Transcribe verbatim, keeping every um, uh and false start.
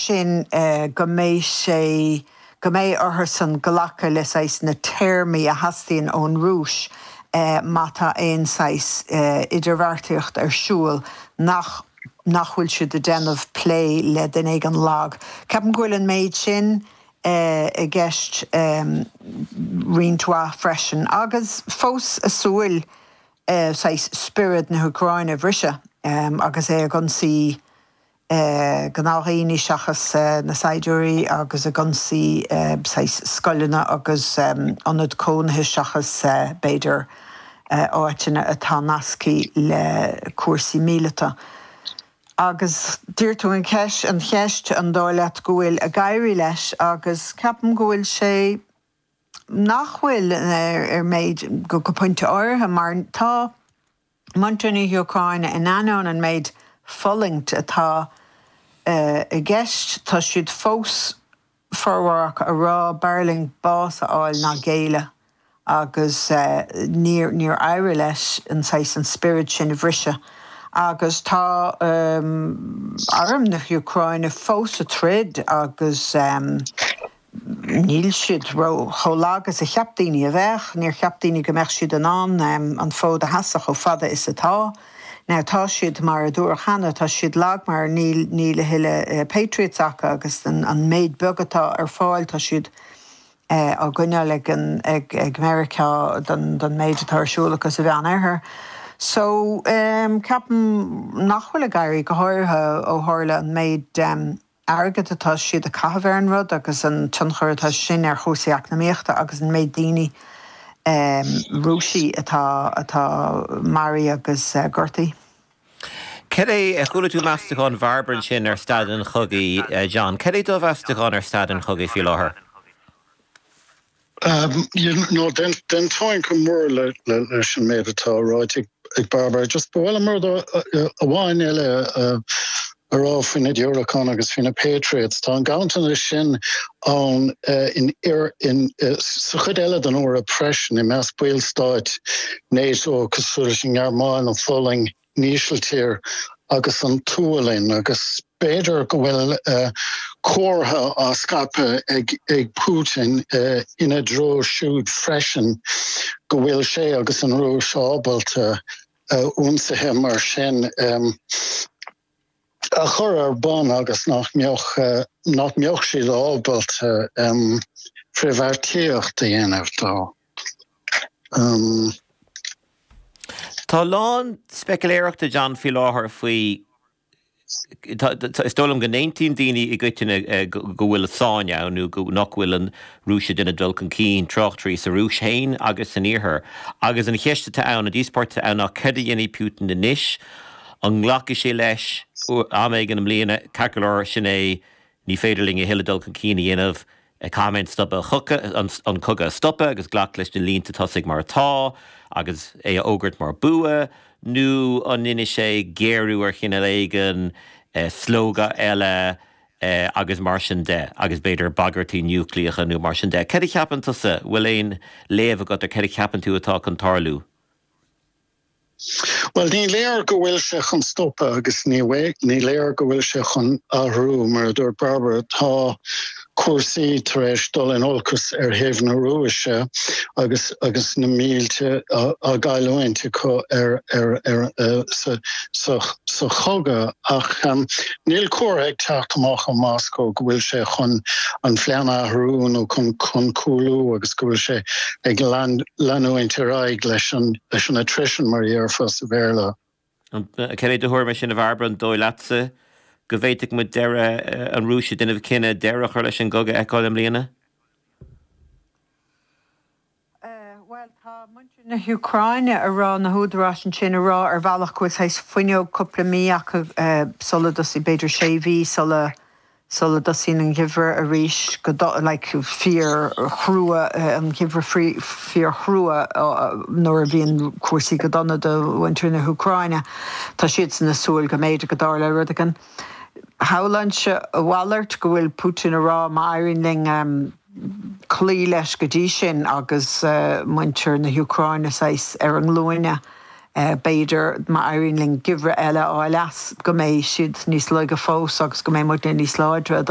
sin go mbeidh sé go mbeidh orthusan glacadh le saghas na téarmaí a theastaíonn ón Rúis má tá aon saghas idirbheartaíocht ar siúl nach nach bhfuil siad ag déanamh plé le duine éigin lag. Ceapaim go bhfuil an méid sin i gceist roinnt mhaith freisin agus fós a súil saghas spiorad na hÚcráine a bhriseadh agus é ag ionsaí gnáthdhaoine seachas na saighdiúirí agus ag ionsaí saghas scoileanna agus ionad cónaithe seachas b'fhéidir áiteanna atá nasctha le cúrsaí míleata. Agus d'iarr tú an cheist an cheist an dóigh leat go bhfuil ag éirí leis agus ceapaim go bhfuil sé nach bhfuil ar méid go go pointe áirithe mar tá muintir na hÚcráine in ainneoin an méid fulaingt atá i gceist, tá siad fós formhór acu ag rá b'fhearr linn bás a fháil ná géilleadh agus níor níor éirigh leis an saghas an spiorad sin a bhriseadh. Agus tá arm na hÚcráine fós ag troid agus níl siad ró chomh lag is a cheap daoine a bheadh, níor cheap daoine go mbeadh siad in ann an fód a sheasamh chomh fada is atá. Now tá siad mar a dúradh cheana, tá siad lag mar níl níl a thuilleadh Patriots acu agus an an méid beag atá ar fáil tá siad á gcoinneáil ag an ag ag Meiriceá don don méid atá ar siúl acu sa Mheánoirthear. So um, ceapaim nach bhfuil ag éirí go háirithe ó tharla an méid um, airgead atá siad a chaitheamh ar an rud agus an tionchar atá sin ar chúrsaí eacnamaíochta agus an méid daoine um, Rúiseacha atá atá maraithe agus uh, gortaithe. Cad é chuala tú meastachán Bhairbre sin ar staid an chogaidh uh, John, Cad é do mheastachán ar staid an chogaidh faoi láthair? Um, you know, den den táin go mór le leis an méid atá ráite ag Barbara, just bhfuil mar amháin eile a rá faoi na diúracáin agus faoi na Patriots. Tá an ganntanas sin ann in in sa chuid eile den Eoraip freisin i measc ballstáit NATO cosúil leis an nGearmáin an Pholainn an Ísiltír agus an tSualainn agus b'fhéidir go bhfuil uh, comhartha á scaipeadh ag, ag Putin uh, ina dtreo siúd freisin go bhfuil sé agus an Rúis ábalta uh, ionsaithe mar sin um, a chur ar bun agus nach mbeadh uh, nach mbeadh siad ábalta um, frithbheartaíocht a dhéanamh dó. Um, Tá lán speicealéireachta John faoi láthair faoi is dóigh liom go n-aontaíonn daoine i gcoitinne go bhfuil sáinn ann nó go nach bhfuil an Rúis ag déanamh dul chun cinn tráchtairí sa Rúis féin agus san iarthar. Agus an cheist atá ann an díospóireacht ann ná cad a dhéanfaidh Putin anois an nglacfaidh sé leis am éigin i mbliana ceart go leor sin é ní féidir linn a thuilleadh dul chun cinn a dhéanamh caithfidh stopadh an cogadh stopadh agus glacadh leis na línte tosaigh mar atá agus é a fhógairt mar bua, nó an ndéanfaidh sé géarú ar chineál éigin slógadh eile agus mar sin de, agus b'fhéidir bagairtí núicléacha nó mar sin de. Cad a cheapann tusa bhfuil aon léamh agat ar cad a cheapann tú atá chun tarlú? Well ní léir go bhfuil sé chun stopadh agus ní ní léir go bhfuil sé chun athrú mar a dúirt Barbara tá cúrsaí tar éis dul in olcas ar thaobh na Rúise agus agus na mílte á gcailliúint acu ar ar ar uh, sa sa sa chogadh ach um, níl comhartha ag teacht amach ó Moscow go bhfuil sé chun an phlean a athrú nó chun chun cúlú agus go bhfuil sé ag leanúint ar aghaidh leis an leis an attrition mar a déarfá sa Bhéarla. Cad é do thuairim sin a Bhairbre an dóigh leatsa go bhféadfadh muid deireadh an Rúis ag déanamh cinneadh deireadh a chur leis an gcogadh a fheiceáil i mbliana? Well tá muintir na hÚcráine ag rá na húdaráis ansin ag rá ar bhealach go bhfuil fuinneog cúpla mí acu sula dtosaíonn b'fhéidir sé mhí sula sula dtosaíonn an geimhreadh arís go like, fíorchrua an geimhreadh fíorchrua nuair a bhíonn cúrsaí go dona do mhuintir na hÚcráine. Tá siad ag súil go mb'fhéidir go dtarlódh rud éigin. Shamhlóinnse a mhalairt go bhfuil Putin ag rá má éiríonn linn um, cloí leis go dtí sin agus uh, muintir na hÚcráine saghas ar a nglúine. Uh, b'fhéidir má éiríonn linn geimhreadh eile a fháil as go mbeidh siad níos laige fós agus go mbeidh muidne níos láidre dul